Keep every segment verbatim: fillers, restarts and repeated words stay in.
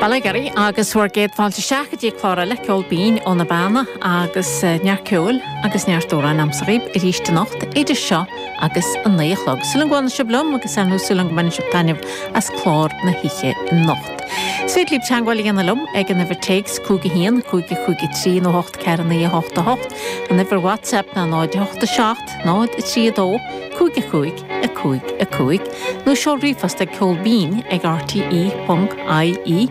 Bail ó Dhia oraibh agus bhur gcéad fáilte isteach go dtí clár eile Ceol Binn ó na Beanna agus neart ceoil agus neart amhrán agamsa dhaoibh arís anocht idir seo agus a naoi a chlog. Súil agam go bhfanfaidh sibh liom agus ar ndóigh súil agam go mbainfidh sibh taitneamh as clár na hoíche anocht. Is féidir libh teagmháil a dhéanamh liom ag an uimhir téacs cúig a haon, cúig a cúig a trí nó hocht ceathair naoi a hocht a hocht, an uimhir WhatsApp ná náid a hocht a seacht, náid a trí a dó, cúig a cúig, a cúig a cúig, nó seol ríomhphost ag ceolbinn ag rte ponc ie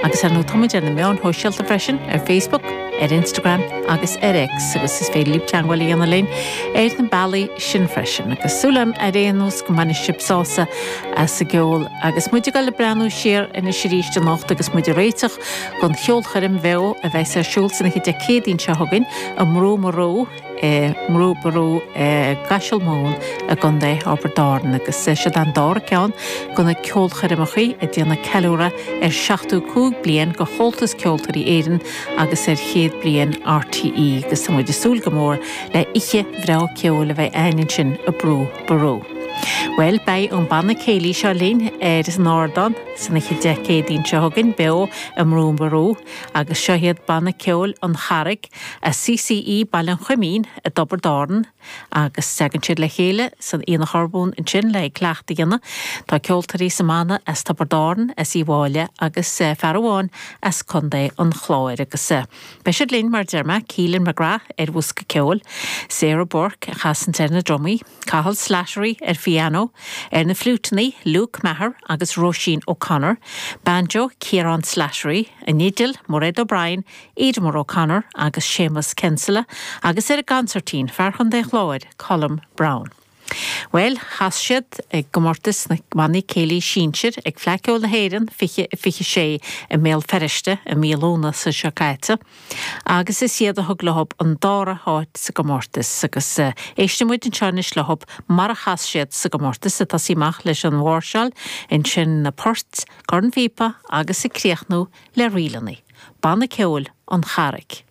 agus ar ndóigh táimid ar na meáin shóisialta freisin ar Facebook, ar Instagram agus ar X agus is féidir libh teagmháil a dhéanamh linn ar na bealaí sin freisin. Agus súil agam ar aon nós go mbainfidh sibh sásamh as an gceol agus muid ag dul ag breathnú siar anois arís anocht agus muid ag réiteach don cheolchoirm bheo a bheas ar siúl san oíche Dé Céadaoin seo chugainn i mBrú Marú i mBrú Ború i gCaiseal Mumhan i gContae Thiobraid Árann agus siod an dara ceann de na ceolchoirmeacha ag déanamh ceiliúradh ar seachtó cúig bliain de Chomhaltas Ceoltóirí Éireann agus ar chéad bliain RTÉ agus tá muid ag súil go mór le oíche bhreá ceoil a bheidh againn ansin i mBrú Ború. Well beidh an banna céilí seo linn ar an ardán san oíche Dé Céadaoin seo chugainn beo i mBrú Ború agus seo iad banna ceoil an Charraig as CCE Baile an Choimín i dTiobraid Árann agus tagann siad le chéile san Aonach Urmhumhan ansin le cleachtadh a dhéanamh. Tá ceoltóirí sa mbanna as Tiobraid Árann, as Uíbh Fhailí agus fear amháin as Contae an Chláir agus beidh siad linn mar deir mé Keelan McGrath ar bhosca ceoil, Sarah Burke a chasann ar na drumaí, Cathal Slattery ar phiano, ar na fliúiteanna Luke Maher agus Roisin O'Connor, banjo Ciarán Slattery, an fhidil Mairéad O'Brien, Edmure O'Connor agus Seamus Kinsella, agus ar an gconsairtín fear Chontae Chláir Colm Brown. Well, chas siad ag gcomórtas na mbannaí céilí sinsir ag Fleadh Cheoil na hÉireann fiche fiche sé i mBéal Feirste i mí Lúnasa seo caite, agus is iad a thug leo an dara háit sa gcomórtas agus éistfidh muid anseo anois leo mar a chas siad sa gcomórtas ag tosaí amach leis an mháirseáil, ansin na poirt, cornphíopa agus ag críochnú le ríleanna. Banna ceoil an Charraig.